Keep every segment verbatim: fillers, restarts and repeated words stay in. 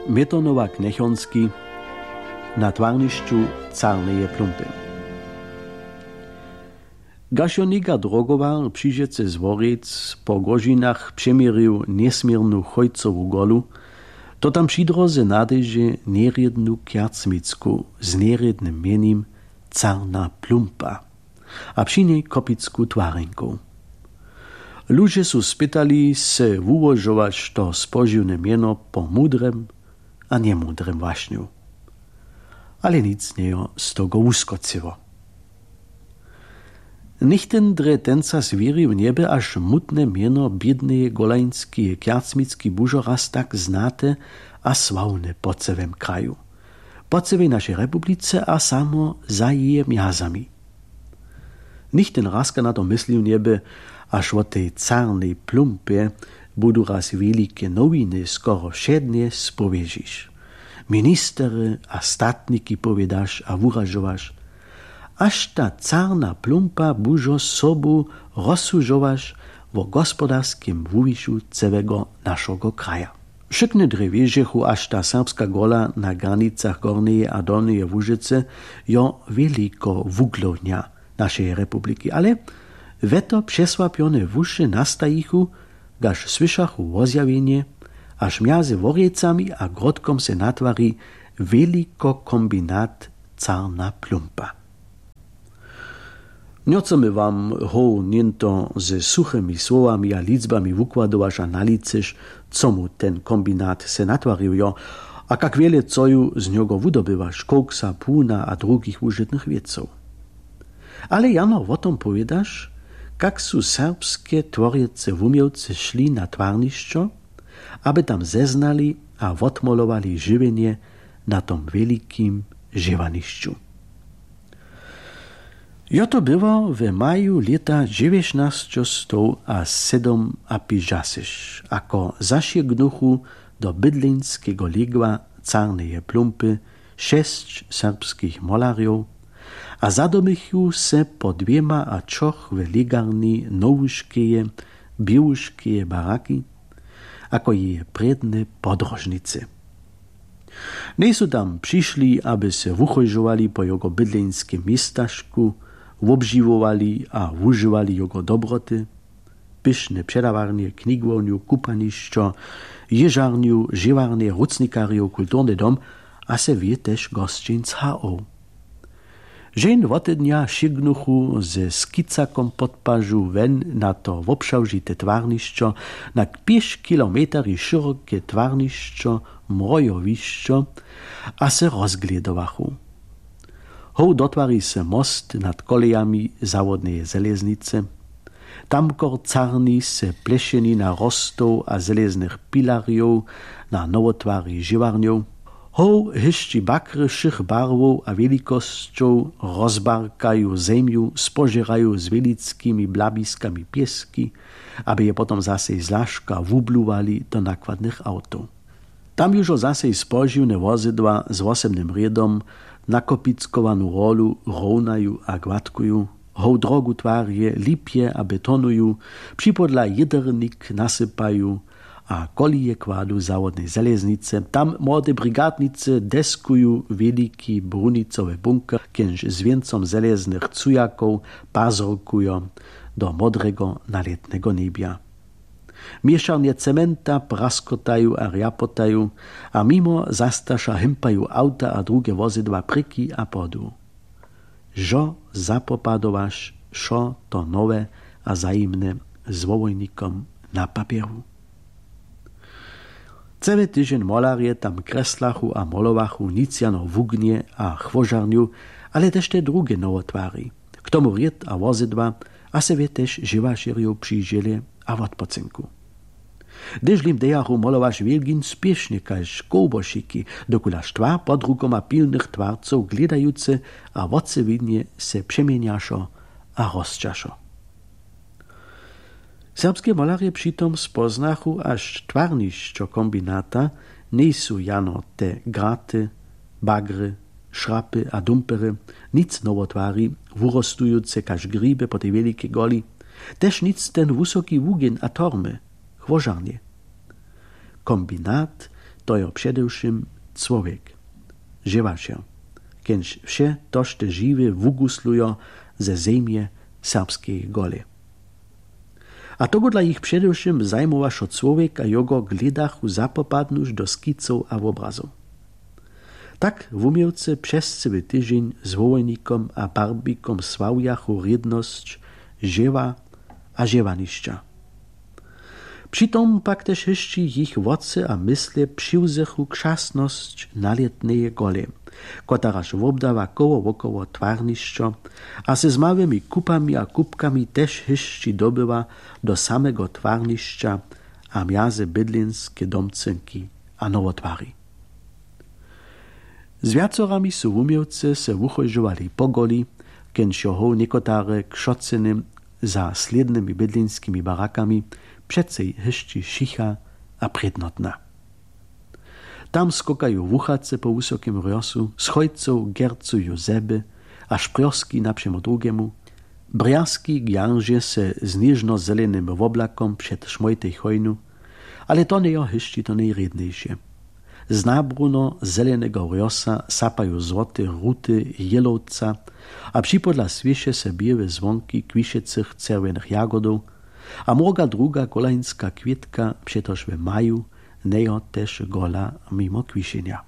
Metonowa Knjechonski. Na twarnišću carneje plumpy. Gašo něka drogowa přižecy z Worjec po Głožinach přeměrił njesměrnu chójcowu golu, to tam při dróze nadejže njerědnu kjacmicku z njerědnym mjenim Carna Plumpa a při njej kopicku twarjenkow. Ludźe su spytali se wułožować to spožiwne mjeno po mudrem a njemudrem wašnju. Ale nic njejo z togo wuskocyło. Nichtyn drje tenca zwěrił njeby, až mutne mjeno bědneje golańskeje kjacmicki bužo raz tak znate a sławne po cyłym kraju, po cyłej našej republice a samo za jeje mjazami. Nichtyn razka na to myslił njeby, až wo tej carnej plumpje budu raz wjelike nowiny skoro wšednje spowěžiš, ministery a statniki powědaš a wuražowaš, až ta carna plumpa bužo sobu rozsudźowaš wo gospodarskim wuwišu cełego našogo kraja. Wšykne drje wěžechu, až ta serbska gola na granicach Gornjeje a Dolnjeje Łužycy jo wjeliko wuglownja našeje republiki, ale we to přesłapjone wuše nastajichu, kaž słyšachu wozjawjenje, až mjazy Worjecami a Grodkom se natwari wjeliko kombinat Carna Plumpa. Njo chcemy wam hoł něnto ze suchymi słowami a ličbami wukładowaš a nalicyš, co mu ten kombinat se natwarił jo, a kak wjele co ju z njogo wudobywaš, koksa, płuna a drugich wužitnych wěcow. Ale jano wo tom powědaš, kak su serbske tworjecy wuměłcy šli na twarnišćo, aby tam zeznali a wotmolowali žiwjenje na tom wjelikim žěwanišću. Jo to było w maju lěta dźewjećnasćestow a sydomapižasyš, ako zašěgnuchu do bydleńskeho lěgła Carneje Plumpy šesć serbskich molerjow a zadomychu se po dwěma a ćoch w lěgarni nowuškeje, běłuškeje baraki, ako jeje prědne podróžnicy. Njejsu tam přišli, aby se wuchóžowali po jogo bydleńskim městažku, wobžiwowali a wužiwali jogo dobroty, pyšne předawarnje, knigownju, kupanišćo, jěžarnju, žěwarnje, rucnikarjow, kulturny dom a se wě tež gosćenc H O. Źeń wotednja šěgnuchu ze skicakom pod pažu wen na to wobšałžite twarnišćo, na pěć kilometerjow šěroke twarnišćo, mrojowišćo, a se rozglědowachu. Hoł dotwari se most nad kolejami zawodneje železnicy. Tamkor carni se plešeni na rostow a železnych pilarjow na nowotwari žiwarnjow. Hoł hyšći bakry wšěch barwow a wjelikosćow, rozbarkaju zemju, spožěraju z wjelickimi blabiskami pěski, aby je potom zasej zlaška wubluwali do nakładnych awtow. Tam južo zasej spožiwne wozydła z wosebnym rědom nakopickowanu rolu rownaju a gładkuju, hołdrogu twarje, lipje a betonuju, připodla jědernik nasypaju a kolije kładu zawodnej železnicy. Tam młode brigadnicy deskuju wjeliki brunicowy bunker, kienž z wěncom železnych cujakow pazorkujo do modrego nalětneho njebja. Měšarnje cementa praskotaju a rjapotaju a mimo zastaša himpaju awta a druge wozydła prěki a podu. Žo zapopadowaš wšo to nowe a zajimne zwołojnikom na papjeru. Cyle tyźeń molerje tam kreslachu a molowachu nic jano wugnje a chłožarnju, ale tež te druge nowotwari. K tomu rěd a wozydła a se wě tež žiwašerjow přižěle a wotpocynku. Hdyž lim dejachu molowaš wjelgin spěšnje kaž kołbošiki, dokulaž twar pod rukoma pilnych twarcow glědajucy a wotřewiwje se přeměnjašo a rosćašo. Serbske molerje při tom spoznachu, až twarnišćo kombinata njejsu jano te graty, bagry, šrapy a dumpery, nic nowotwari, wurostujuce kaž gribje po tej wjelikej goli, tež nic ten wusoki wugin a tormy, chłožarnje. Kombinat to jo předewšěm cłowjek, žěwašer, kenž wše to šte žiwe wuguslujo ze zemje serbskeje gole. A togodla jich předewšěm zajmowašo cłowjek a jogo glědachu zapopadnuć do skicow a wobrazow. Tak wuměłcy přez cyły tyźeń z wołojnikom a barbikom sławjachu rědnosć žěwa a žěwanišća. Při tom pak tež hyšći jich wocy a mysle přiwzechu křasnosć nalětneje gole, kotaraž wobdawa koło wokoło twarnišćo a se z małymi kupami a kupkami tež hyšći dobywa do samego twarnišća a mjaze bydlinske domcynki a nowotwari. Z wjacorami su wuměłcy se wuchóžowali po goli, kenž jo hoł někotare křocyny za slědnymi bydlinskimi barakami přecej hyšći šicha a prědnotna. Tam skokaju wuchace po wusokim rjosu, schojcow gercuju zeby a šprjoski napřemo drugemu, brjazki gjaržje se z něžno-zelenym woblakom před šmojtej chojnu, ale to njejo hyšći to nejrědnejše. Z nabruno zeleneho rjosa sapaju złote ruty jělowca a připodla swěše se běłe zwonki kwišecych čerwjenych jagodow a mróga druga kolańska kwětka, přetož w maju njejo tež gola mimo kwišenja.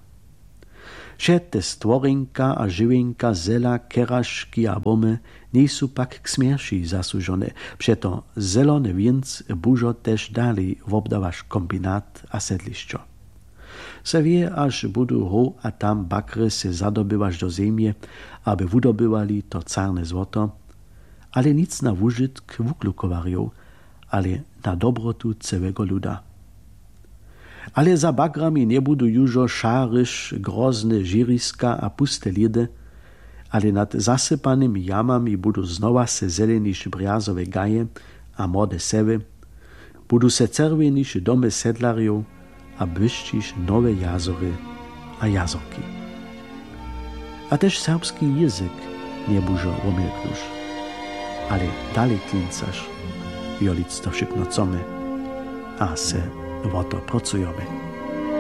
Wše te stworjenka a žiwjenka zela, keraški a bomy njejsu pak k smjerši zasłužone, přeto zelony wěnc bužo tež dali wobdawaš kombinat a sedlišćo. Se wě, až budu hoł a tam bakry se zadobywaš do zemje, aby wudobywali to carne złoto, ale nic na wužitk wuklukowarjow, ale na dobrotu cełego luda. Ale za bakrami njebudu južo šaryš grozne žěriska a puste lědy, ale nad zasypanymi jamami budu znowa se zeleniš brjazowe gaje a młode sewy, budu se čerwjeniš domy sedlarjow a błyšćiš nowe jazory a jazorki. A tež serbski jězyk njebužo womjelknuš, ale dalej klincaš, jo, lic to wšykno chcome a se wo to prócujome.